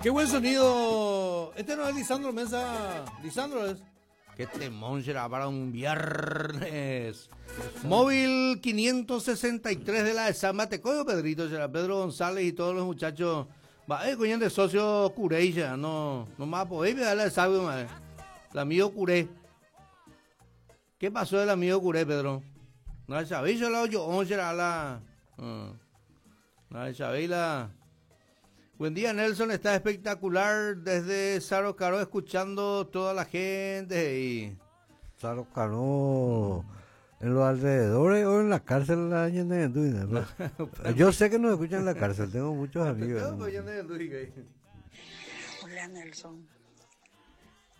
Qué buen sonido. Este no es Lisandro Mesa. Lisandro es. Qué temón será para un viernes. Móvil 563 de la de San Matecoyo, Pedrito, será Pedro González y todos los muchachos. Va, eh, coño, de socio curé, ya, no, no más podéis darle sabio, madre. El amigo curé. ¿Qué pasó del amigo curé, Pedro? No sabéis, solo yo, será la. Uh, no sabéis la. Buen día, Nelson. Está espectacular desde Saro Caro, escuchando toda la gente. Y... Saro Caro, en los alrededores o en la cárcel la Yo sé que nos escuchan en la cárcel, tengo muchos amigos. Hola, Nelson.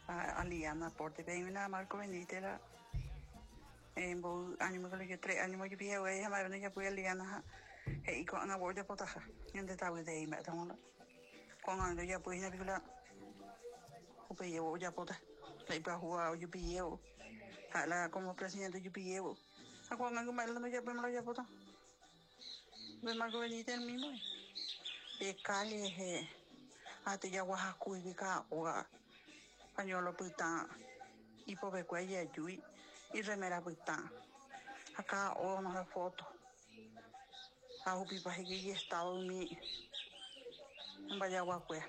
A, Liana, porte, una Marco Benítez, en año me tres años yo pide güey ya ya fui a Liana he'i ko'ág̃a voi ojapotaha ñande tavytei mba'étamo ko'ág̃a ojapói hína piko la upejévo ojapóta la ipyahúva ojupijévo ha'e la como presidente ojupijévo ha ko'ág̃a ko mba'e la ndojapóima la ojapóta upe Marco Benítez el mismo pe calle rehe ha tejaguahakúigui ka'aóga pañuelo pytã ipopekue ijajúi irremera pytã ha ka'aóga onohẽ foto. Ha hupipa he'i ijestado umi mbajaguakuéra.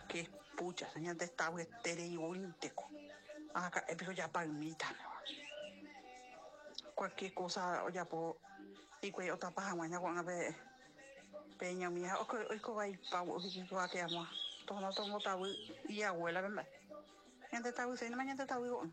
Qué pucha, ñande estado voínteko. Araka'e piko japaymíta. Cualquier cosa ojapo hikuái otapa hag̃ua ña ko'ág̃a pe pe ñomi ha oiko vaipa oike amo tohóna tombotavy ijabuela-pe mba'e. Ñande tavyséinema ñande tavy ko'ág̃a.